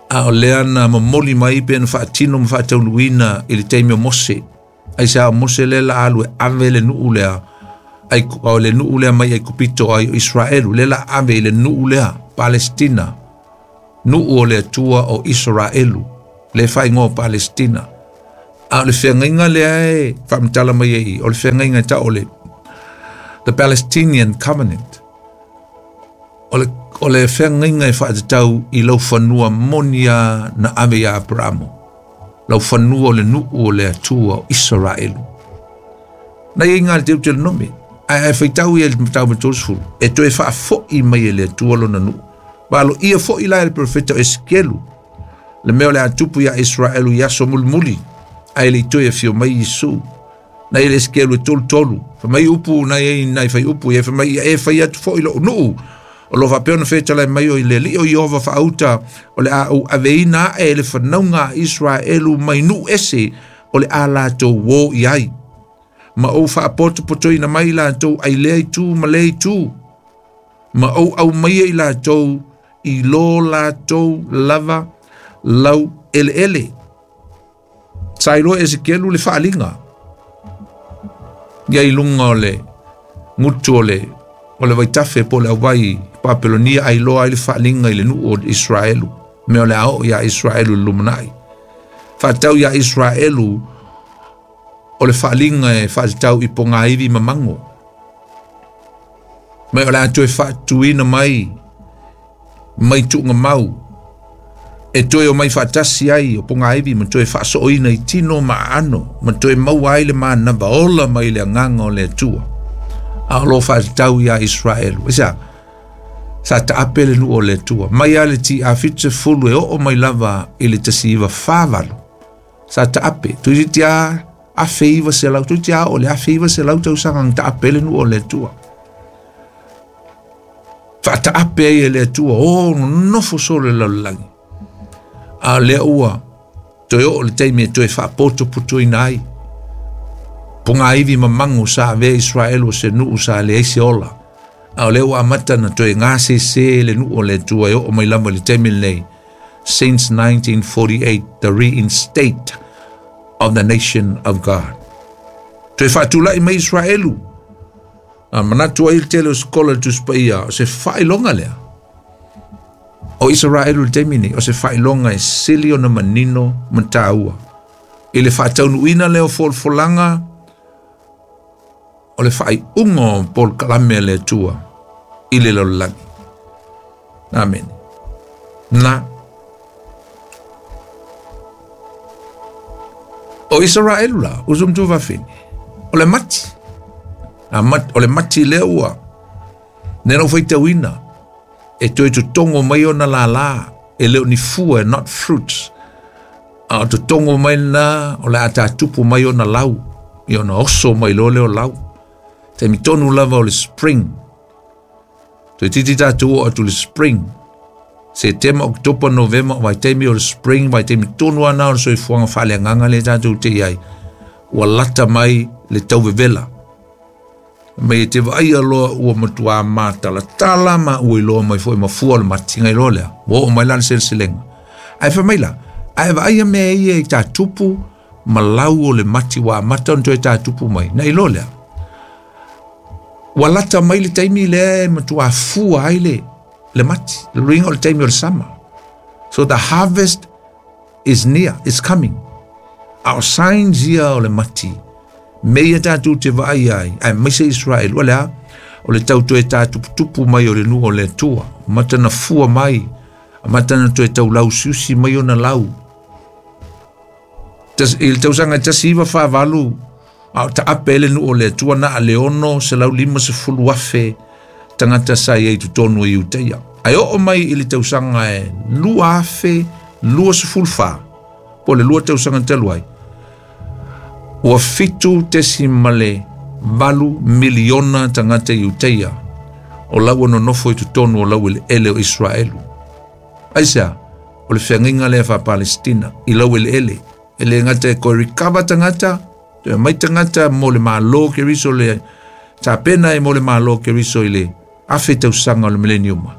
A o lea na mamoli mai pe na whaatino ma whaataunuina i le teimi o Mose. Ai sa o Mose lea la alu e ave le nuu lea. Ai o le nuu lea mai ai kupito ai o Israelu. Le la ave i le nuu lea, Palestina. Nuu o le atua o Israelu. Le whaingoa Palestina. A o le feagaiga lea e faamatala mai ai, o le feagaiga e tau o le The Palestinian Covenant. O le, o le feagaiga e faatatau i lau fanua moni a na ave ia Aperamo. Lau fanua o le nuu o le Atua o Israelu. Na ia inga le Deuteronome. Ae ae faitau ia le matau ma tolu e toe faafo'i mai e le Atua lona nuu. Valo ia fo'i la e le profeta o Esekielu. Le mea o le atupu ia Israelu i aso mulimuli. Ae le i toe afio mai Iesu. Na ia le Esekielu e tolu tolu. Fa mai upu na ia nai fai upu ia fa mai ia e fai atu fo'i lo'u nuu. O lo faapea ona fetalai mai o i le alii o Ieova faauta o le a ou aveina ae le fanauga a Israelu mai nuu ese o le a latou o i ai. Ma ou faapotopotoina mai latou ai lea itu ma lea itu. Ma ou aumaia i latou i lo latou lava lau eleele. Sa iloa Esekielu le faaliga. Ia i luga o le gutu o le o le vaitafe po o le auai Papelonia ai loa ai le faaliga i le nuu o Israelu. Mea o le a oo ia Israelu i le lumanai. Faatau ia Israelu o le faaliga e faatatau i pogaivi ma mago. Ma o le a toe faatuina mai mai tuugamau e toe o mai faatasi ai o pogaivi ma toe faasooina i tino ma aano ma toe maua ai le manava ola mai le agaga o le Atua. A o lo faatatau ia Israelu. Aisea, sa taape le nuu o le Atua. Mai a le ti a fitu sefulu e oo mai lava i le tasi iva fa valu. Sa taape. Toeitiiti a afe iva selau. Toeitiiti a o le afe iva selau tausaga na taape le nuu o le Atua. Faataape ai e le Atua. O nonofo solo le lalolagi. A lea ua toe oo le taimi e toe faapotopotoina ai. Pogaivi ma mago sa avea Israelu o se nuu sa leai se ola. A o lea ua amata na toe gasese le nuu o le Atua e oo mai lava i le taimi lenei. Since nineteen forty-eight, the reinstate of the nation of God. Toe faatulai mai Israelu. A manatu ai le tele o sekola le Tusi Paia, o se faailoga lea. O Israelu le taimi nei, o se faailoga e sili ona manino ma taua. I le faataunuuina lea o folafolaga, o le faaiuga o polokalame a le Atua i le lalolagi. Amen. Na. O Israelu la, uso ma tuafafine, o le mati. A mat, o le mati lea ua. Nena u faitauina, e toe totogo mai ona lālā, e le o ni fua, not fruits. A o totogo mai na, o le a tatupu mai ona lau, i ona oso mai loa lea o lau. Taimi tonu lava o le spring. Toeitiiti tatou oo atu le spring. Setema, Oketopa, Novema, vaitaimi o le spring, vaitaimi tonu ana o le soifuaga faaleagaga lea tatou te i ai. Ua lata mai le tauvevela. Mai e te vaaia loa ua matuā matalatala ma ua iloa mai foi mafua o le matiga i loa lea. Ua oo mai la le seleselega. Ae fai mai la, ae vaaia mea ia i tatupu ma lau o le mati ua amata ona toe tatupu mai. Na iloa lea. Ua lata mai le taimi lea e matuā fua ai le, le mati. Le luiga o le taimi o le sama. So the harvest is near, is coming. A o signs ia o le mati. Me ia tatou te vaai ai, ae maise Israel, o le a, o le tau toe tatuputupu mai o le nuu o le Atua. Amata na fua mai, amata na toe taulausiusi mai ona lau. Tas, i le tausaga tasi iva fa valu, a o taape le nuu o le Atua na a le ono selau lima sefulu afe tagata sa i ai totonu i Iutaia. Ae oo mai i le tausaga e lua afe lua sefulu fa, po o le lua tausaga talu ai, ua fitu tesimale valu miliona tagata i Iutaia o lau nonofo i totonu o lau eleele o Israelu. Aisea, o le feagaiga lea faa-Palestina i lau eleele. E le gata e koe recover tagata, toe mai tagata mo le malo Keriso le tapena e mo le malo Keriso i le afe tausaga o le mileniuma.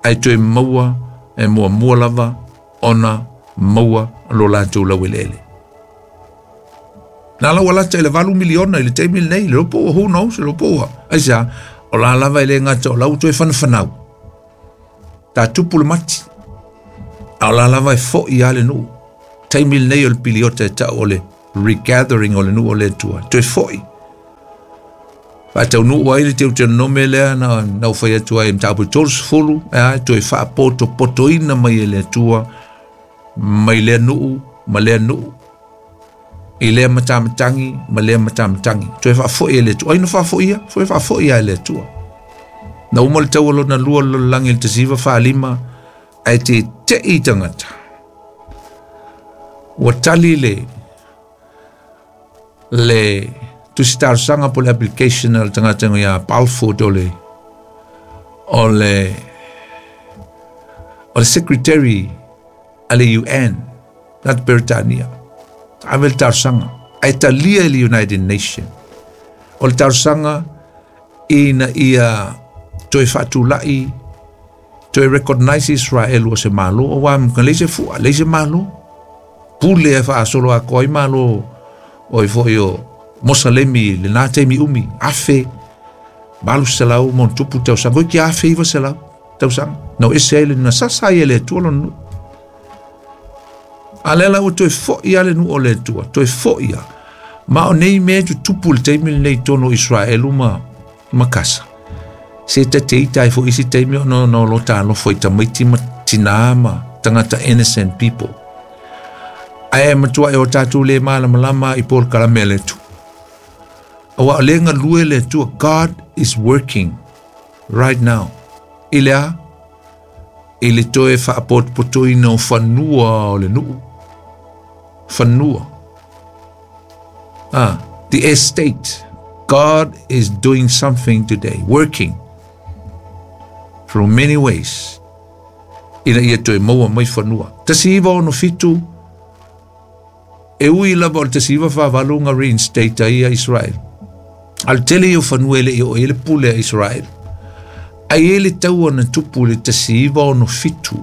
Ae toe maua e muamua lava ona maua lo latou lau eleele. Na lau alata i le valu miliona i le taimi lenei, le lopo ua, who knows, le lopo ua. Aisea, o la lava e le gata o lau toe whanawhanau. Tā tupu le mati. A o la lava e fo'i a le nuu. Taimi lenei o le piliota e tau o le Regathering o le nuu o le Atua. Toe fo'i. Faataunuu ai le Teuteronome lea na na ufai atu ai mataupu tolu sefulu, e toe faapotopotoina mai e le Atua mai lea nuu ma lea nuu i lea matamatagi ma lea matamatagi. Toe faafo'i e le Atua. Ai na faafo'ia, foi faafo'i e le Atua. Na uma le taua lona lua o le lalolagi i le tasi iva fa lima, ae tete'i tagata. Ua tali le le tusi talosaga po le application a le tagata ia Balfour, o le o le o le secretary a le U N nat Beretania. Ave le talosaga ae talia e le United Nation o le talosaga ina ia toe faatula'i, toe recognize Israel ua se malo, o wa ka leise fua leise malo pule e faasolo atoa ai malo o i foi o Mosalemi le na taimi umi afe valu selau mo tupu tausaga ki afe iva selau tausaga no ese ai le na sasa ai e le Atua lona nuu. A lea la ua toe fo'i a le nuu o le Atua, toe fo'i a ma o nei mea tutupu le taimi lenei tonu o Israelu ma ma Kasa se tate ita ai fo'i isi taimi ona no lo talofa i tamaiti ma tinā ma tagata, innocent people, ae matua e o tatou le malamalama i polokalame a le Atua. Aua o le galue le Atua. God is working right now. I le a? I le toe faapotopotoina o fanua o le nuu. Fanua. Ah, the estate. God is doing something today, working through many ways ina ia toe maua mai fanua. Tasi iva ono fitu, e ui lava o le tasi iva faavalu nga reinstate ai ia Israel. A le tele ia o fanua e le i o e le pule a Israel. Ai e le taua na tupu le tasi iva ono fitu.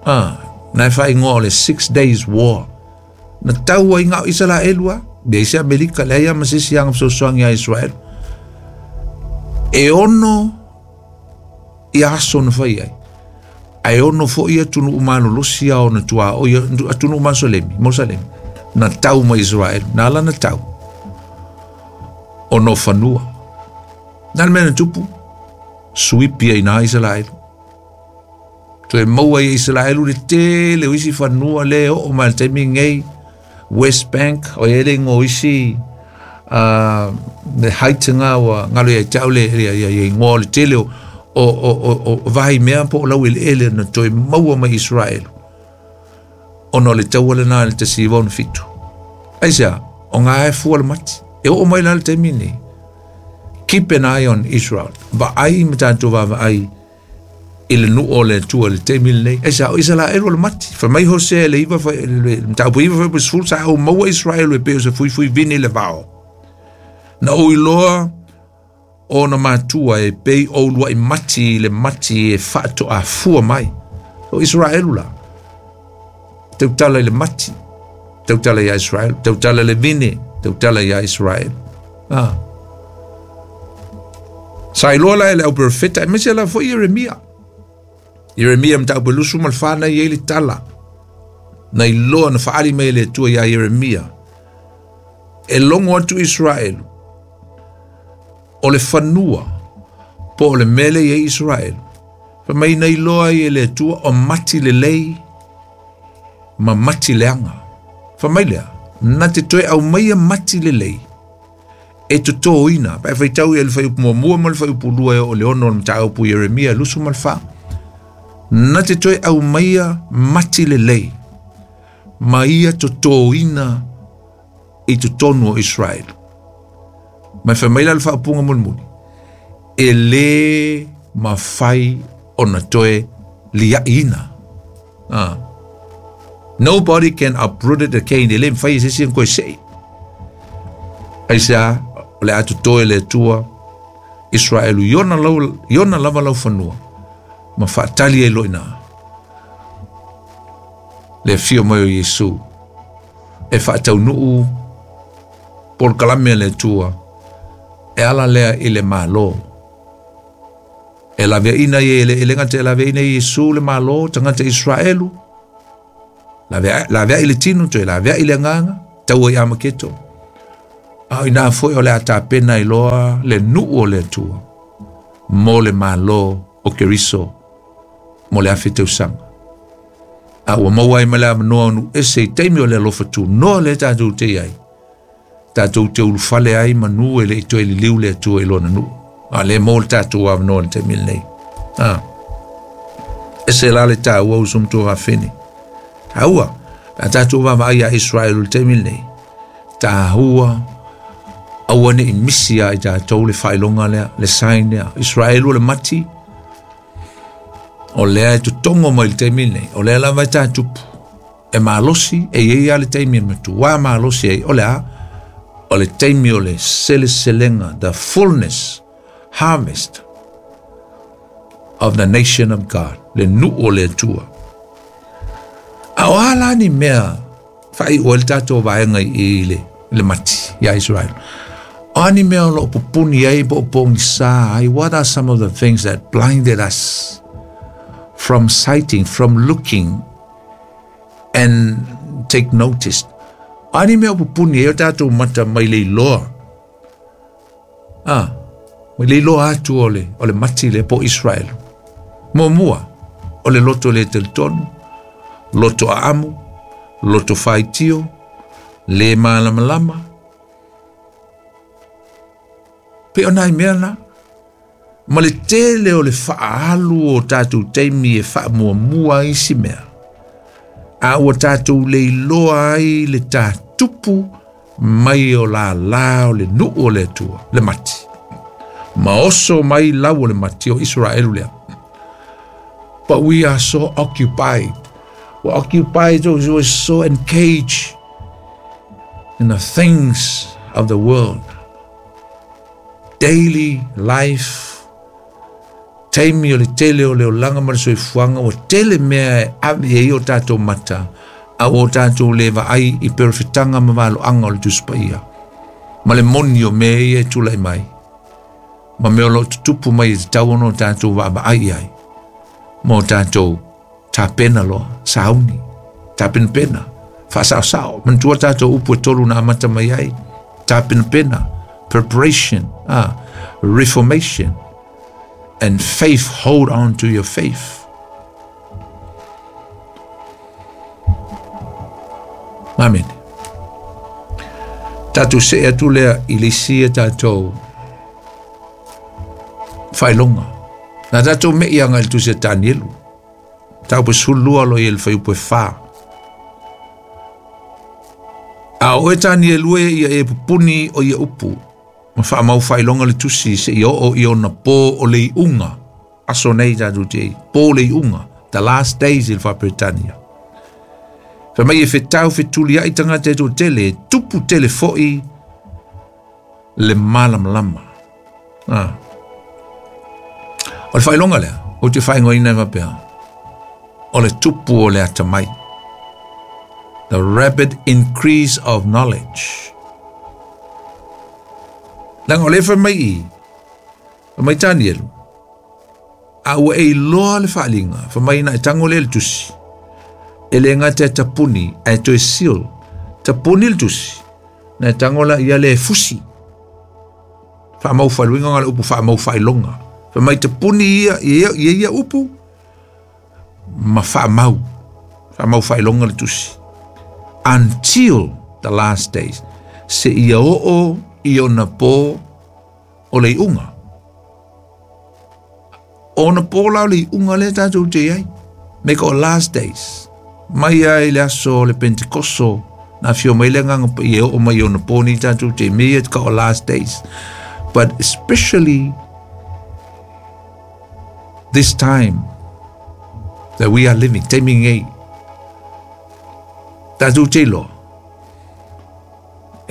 Ah, na e whaingoa o le Six Days War. Na taua i ngā Israelua, be isi Amerika, le ia masisi anga fesoasoani a Israel. E ono i aso na fai ai. Ae ono fo'i atunuu malolosi a ona tua o ia atunuu masolemi, mosalemi. Na tau ma Israel, na ala na tau. O no fanua. Na le mea na tupu, suipi ai nā Israel. Toe maua i Israel le tele o isi fanua le o o mai le taimi ngei West Bank o ele ngo isi uh, le haitanga wa ngalo ia tau le ia ia ia ngo le tele o o o o, o vahi mea po o lau ele ele na toe maua mai Israel. Ona le taua le nā le tasi iva ono fitu. Aisea, o ngā e fua le mati. E o mai la le taimi nei. Keep an eye on Israel. Va ai ma tātou va va ai i le nuu o le Atua le taimi lenei. Aisea, o Israel o le mati. Fa mai Hosea le iva fa le mataupu iva fa sefulu sa au maua Israel e pei o se fuifui vini le vao. Na o iloa o na matua e pei o lua i mati le mati e whaato a fua mai. O Israel la. Tautala i le mati. Tautala ia Israel. Tautala le vine. Tautala ia Israel. Ah. Sa iloa la e le au profeta, e mese la foi Ieremia. Ieremia mataupu lusu ma le whana i le tala. Na iloa na whaari mai le Atua ia Ieremia. E longo atu Israel. O le fanua. Po o le mele ia Israel. Fa mai na iloa i e le Atua o mati le lei ma mati leanga. Fa mai lea, na te toe au mai a mati le lei. E totōina, pa e whaitau i le whai upu muamua ma le whai upu lua e o le ono o le mataupu Ieremia lusu ma le wha. Na te toe au mai a mati le lei. Ma ia totōina i totonu o Israel. Mai whai mai la le whaapunga mulimuli. E le mafai ona toe liaina. Ah. Nobody can uproot it again. E le mwhai se si koe sei. Aisea, o le atu toe le Atua Israelu iona, lau, iona lava lau fanua. Ma whaatali e loina. Le fio mai o Yesu. E whaataunuu polokalame le Atua. E ala lea i le malo. E laveaina i le ele ngata e laveaina i Yesu le malo tagata Israelu. Lavea lavea i le tino toe lavea i le nganga. Taua i Amaketo. A ina foi o le atapena i loa le nuu o le Atua mo le malo o Keriso mo le afe tausaga. A ua maua ai ma le avanoa o nuu ese i taimi o le alofa tunoa le tatou te i ai. Tatou te ulufale ai manu e le i toe liliu le Atua i lona nuu. A le mo le tatou avanoa i le taimi lenei. Ah. Ese la le tāua uso matua fafine. Tāua, a tatou vaavaai a Israel i le taimi lenei. Tāua, aua ne i misi a i tatou le faailoga lea, le sign lea. Israel o le mati, o lea e totogo mai le taimi lenei, o lea lava e tatupu. E malosi, e iai a le taimi e matuā malosi ai, o le a, o le taimi o le seleselega, the fullness, harvest of the nation of God, le nuu o le Atua. A o a la ni mea faaiu ai le tatou vaega i le, le mati ia Israel. O a ni mea o loo pupuni ai po o pogisā ai, what are some of the things that blinded us from sighting, from looking and take notice? O a ni mea o pupuni ai o tatou mata mai le iloa. Ah, mai le iloa atu o le, o le mati le po Israel. Muamua, o le loto le talitonu, loto aamu, loto faitio, le malamalama. Pe o nai mea na, ma le tele o le faalu o tatou taimi e faamuamua ai isi mea. A ua tatou le iloa ai le tatupu mai o lālā o le nuu o le Atua, le mati. Ma oso mai lau o le mati o Israelu lea. But we are so occupied. We're occupied, we're so engaged in the things of the world. Daily life, taimi o le tele o le olaga ma le soifuaga, ua tele mea e ave ai o tatou mata, a ua o tatou le vaai i perofetaga ma valoaga o le Tusi Paia. Ma le moni o mea ia e tulai mai. Ma mea o loo tutupu mai e tatau ona o tatou vaavaai ai. Ma o tatou tapena loa, sauni, tapenapena, faasaosao. Manatua tatou upu e tolu na amata mai ai. Tapenapena, preparation, ah, reformation, and faith, hold on to your faith. Amen. Tatou see atu lea i le isi e tatou faailoga. Na tatou mei aga i le tusi a Tanielu. Tau pe sefululua lo i le fuaiupu e fa. A o e Tanielu e ia e pupuni o ia upu. Ma faamau faailoga le tusi se i oo i ona po o le iuga. Aso nei tatou te ai. Po o le iuga. The last days i le Faaperetania. Fai mai e fetau fetuliai tagata e toatele, tupu tele foi le malamalama. Ah. O le faailoga lea, ou te faaigoaina e faapea, o le tupu o le atamai. The rapid increase of knowledge. Leaga o le fai mai i, fai mai Tanielu, a ua e iloa le faaliga, fai mai na e tago lea le tusi, e le gata e tapuni, ae toe seal, tapuni le tusi, na e tago la ia le fusi. Faamau faailoga le upu faamau faailoga. Fai mai tapuni ia, ia, ia, ia upu, ma faamau, faamau faailoga le tusi. Until the last days. Se ia oo i ona po o le iuga. Ona po la o le iuga le tatou te ai. Me ko last days. Mai ai le aso le Pentekoso, na fio mai le agaga paia e oo mai ona po ni tatou te me e ka o last days. But especially this time that we are living, taimi nei, tatou te iloa.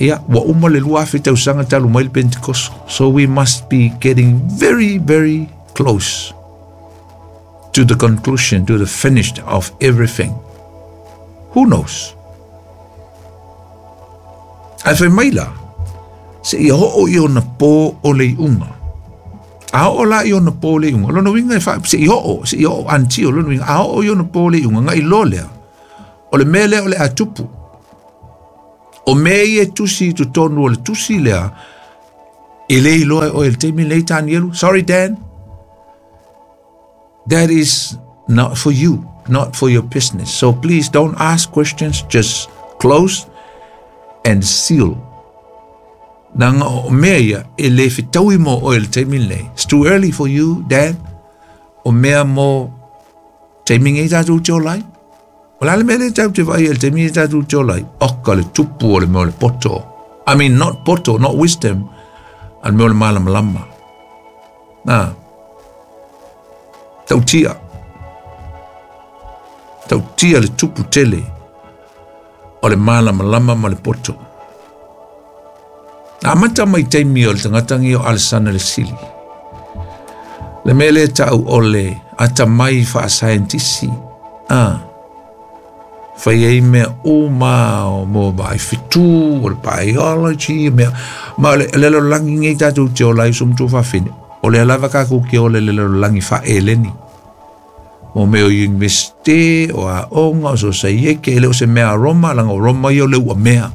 Ia, ua uma le lua afe tausaga talu mai le Pentekoso. So we must be getting very, very close to the conclusion, to the finish of everything. Who knows? Ae fai mai la, se ia oo i ona po o le iuga. A oo la i ona po o le iuga. Lona uiga e fa, se i oo, se i oo until, lona uiga, a oo i ona po o le iuga, ngai loa lea. O le mea lea o le a tupu. O mea ia tusi i totonu o le tusi lea, e le iloa e oe le taimi lenei Tanielu. Sorry Dan, that is not for you, not for your business. So please don't ask questions, just close and seal. Nanga o mea ia e le fetaui mo oe le taimi lenei. It's too early for you, Dan. O mea mo taimi nei tatou te ola ai. O le a le mea lea tatou te vaai ai le taimi nei tatou te ola ai? Oka le tupu o le mea o le poto. I mean, not poto, not wisdom, a le mea o le malamalama. Nā, tautia. Tautia le tupu tele o le malamalama ma le poto. Na amata mai taimi o le tagata o Alesana le Sili. Le mea lea tau o le atamai faasaientisi. Ah, fai ai mea uma o mo vaai fetu, o le biology, mea. Ma o le le lalolagi nei tatou te ola ai uso ma tuafafine. O lea lava kakou ke ola i le lalolagi faaeleni. Mo mea o universite, o aoga, o sosaieke, e le o se mea a Roma, laga o Roma ia o le uamea.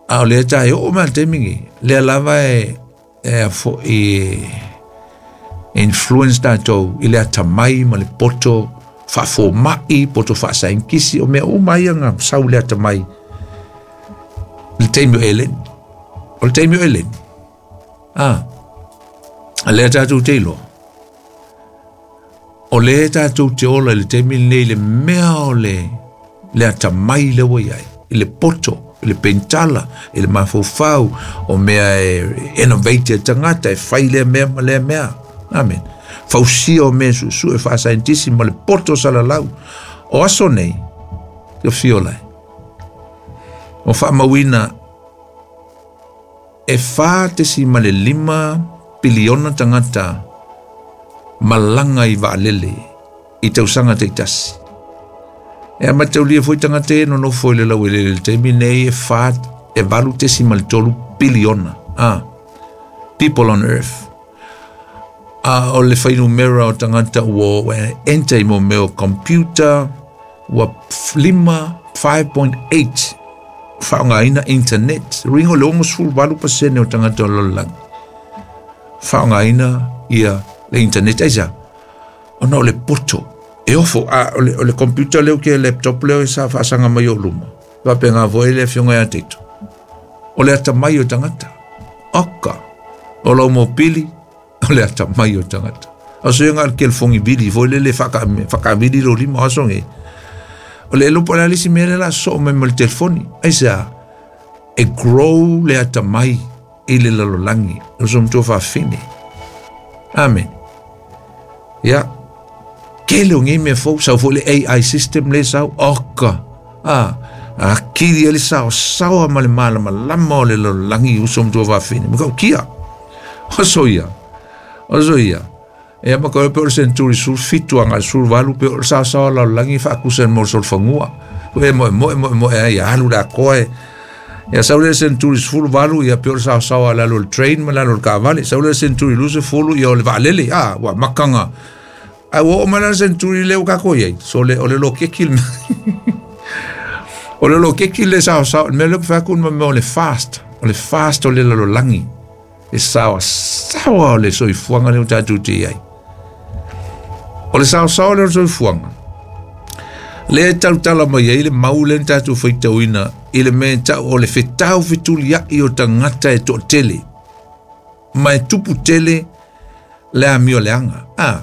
A o lea tae oo mai le taimi nei, lea lava e, e a fo'i e influence tatou i le atamai ma le poto faafoma'i, poto faasaienitisi, o mea uma ia na sau le atamai le taimi o eleni. O le taimi o eleni. Ah, a lea tatou te iloa. O lea tatou te ola i le taimi lenei le mea o le, le atamai lea ua i ai, i le poto, i le pentala, i le mafaufau, o mea e innovate e tagata, e fai lea mea ma lea mea. Amen. Fausia o mea suesue faasaientisi ma le poto salalau. O aso nei, te fio lai. O faamauina e fa tesimale lima piliona tagata malaga i vaalele i tausaga taitasi. E amataulia foi tagata e nonofo i le lauelele le taimi nei e fa e valu tesimale tolu piliona. Ah, people on earth. A o le fuainumera o tagata ua enter i mo mea o computer ua lima five point eight faaaogaina internet. Uiga o le onosefulu valu pasene o tagata o le lalolagi faaaogaina ia le internet. Aisea? Ona o le poto e ofo a o le, o le computer leo ke laptop leo e sa faasaga mai o luma. Faapena foi le afioga ia Teito. O le atamai o tagata. Oka. O lau mopili o le atamai o tagata. O se nga le kelefogi vili foi le le whakavili lo lima aso nge. O le elopo le alisi mea le la soo mai ma le telefoni. Aisea, e grow le atamai i le lalolagi. O so matua faafine. Amen. Ia, kele o ngei mea fou, sau foi le A I system le sau, oka. Ah, a kiri ele sao, sawa ma le malamalama o le lalolagi uso matua faafine. Maka o kia. O so ia. O so ia. E ama ka pe o le century sul fitu anga sul valu pe o le sao sao lalolagi faakusa mo le solofagua. E moe moe moe moe ai alu le akoa e. Ia sau le century sefulu valu ia pe o le sao sao lalo le train ma lalo le kaavale. Sau le century luase fulu ia o le vaalele. Ah, ua makanga. Ai ua oo mai la le century lea ua kākou i ai. So le, o le lokeki le mea. O le lokeki le sao sao. Le mea lea ku whaku ma mea o le fast. O le fast o le lalolagi. E sawa sawa o le soifuaga lea ua tatou te i ai. O le saosaoa lea o le soifuaga. Lea e tautala mai ai le mau lea na tatou faitauina i le mea e tau o le fetau fetuliai o tagata e toatele. Ma e tupu tele le amio leaga. Ah.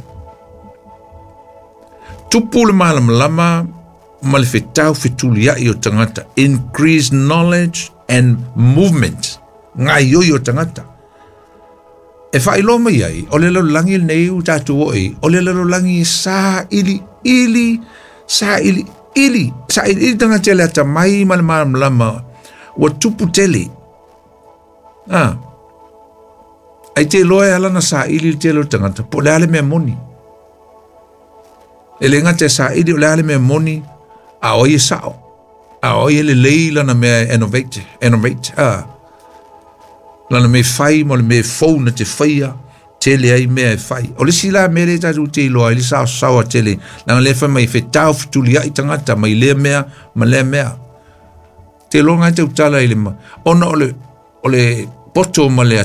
Tupu le malamalama ma le fetau fetuliai o tagata. Increase knowledge and movement. Ngaioi o tagata. E whailoa mai ai, o le lalolagi lenei ua tatou oo i, o le lalolagi e sa ili ili, sa ili ili, sa ili ili tagata e le atamai ma le malamalama, ua tupu tele. Ah. Ai te iloa e ala na sa ili le tele o tagata, po o le a le mea moni. E le gata e sa ili o le a le mea moni, a o ai e sao. A o ai e lelei lana mea e innovate, innovate, ah. Lana me fai mo le me fou na te whaia, tele ai mea e fai. O le sila mea le tatou te iloa, i le sao saoa tele, langa le whai mai whetau fetuli ai tangata, mai lea mea, ma lea mea. Te iloa na e tautala i le ma ona o le o le poto ma le